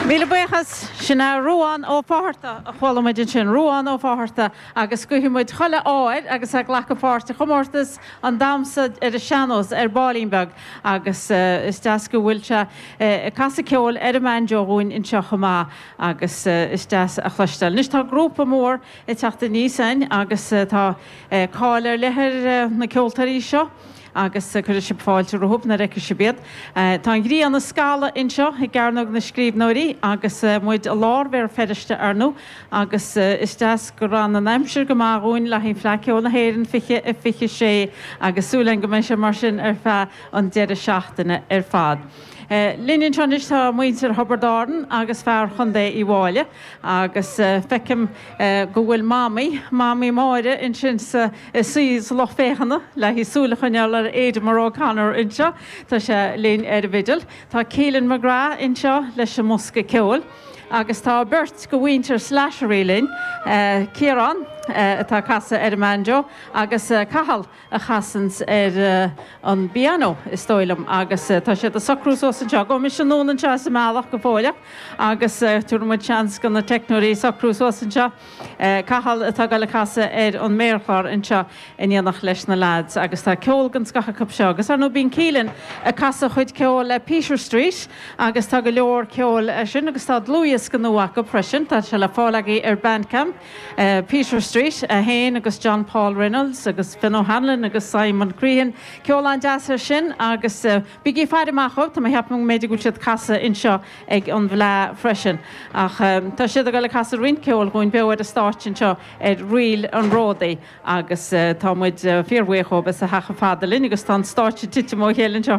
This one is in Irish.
Míle buíochas. Sin é Ruán Ó Fátharta a chuala muid ansin, Ruán Ó Fátharta, agus guífidh muid chuile ádh air agus é ag glacadh páirt i chomórtas an damhsa ar an sean-nós ar baillín beag agus is deas go bhfuil sé ag casadh ceoil ar an mbanjo dhúinn anseo chomh maith agus is deas a chloisteáil. Anois tá grúpa mór ag teacht aníos againn agus tá cáil ar leith ar na ceoltóirí seo. agus cuirfidh sibh fáilte rompu nuair a fheicfidh sibh iad. Tá an ghrian ag scalladh anseo i gCearnóg na Scríbhneoirí agus muid i lár Bhéal Feirste, ar ndóigh, agus is deas gur fhan an aimsir go maith dhúinn le haghaidh Fleadh Cheoil na hÉireann 2026 agus súil againn go mbeidh sé mar sin ar feadh an deireadh seachtaine ar fad. Linn anseo anois tá muintir Thiobraid Árann agus fear Chontae Uíbh Fhailí agus feicim go bhfuil Mamaí, Mamaí Máire ansin sa suí sa lucht féachana le haghaidh súil a choinneáil ar Aidan O'Connor anseo. Tá sé linn ar an bhfidil. Tá Keelan McGrath anseo leis an mbosca ceoil agus tá beirt de mhuintir Slattery linn, Ciarán atá ag casadh ar an mbanjo agus Cathal a chasanns ar an bpianó, is dóigh liom, agus tá siad ag socrú suas anseo. Gabhfaidh mise anonn anseo as an mbealach go fóilleach agus tabharfaidh muid seans do na teicneoirí socrú suas anseo. Cathal atá ag dul a casadh ar an méarchlár anseo in éineacht leis na lads agus tá ceol den scoth acu seo agus ar ndóigh bíonn Keelan ag casadh a chuid ceoil le Peter Street agus tá go leor ceoil sin agus tá dlúthdhiosca nua acu freisin, tá sé le fáil agaibh ar Bandcamp, Peter Street, é féin agus John Paul Reynolds agus Finn O'Hanlon agus Simon Crean. Ceol an-deas é sin agus bígí ag faire amach dhóibh, tá mé ag ceapadh go mb'fhéidir go bhfuil siad ag casadh anseo ag an bhFleadh freisin. Ach tá siad ag dul ag casadh roinnt ceoil dhúinn beo ar an stáitse anseo ar Ríl an Ródaí agus tá muid fíorbhuíoch dhóibh as a theacht chomh fada linn agus tá an stáitse ag titim ó chéile anseo.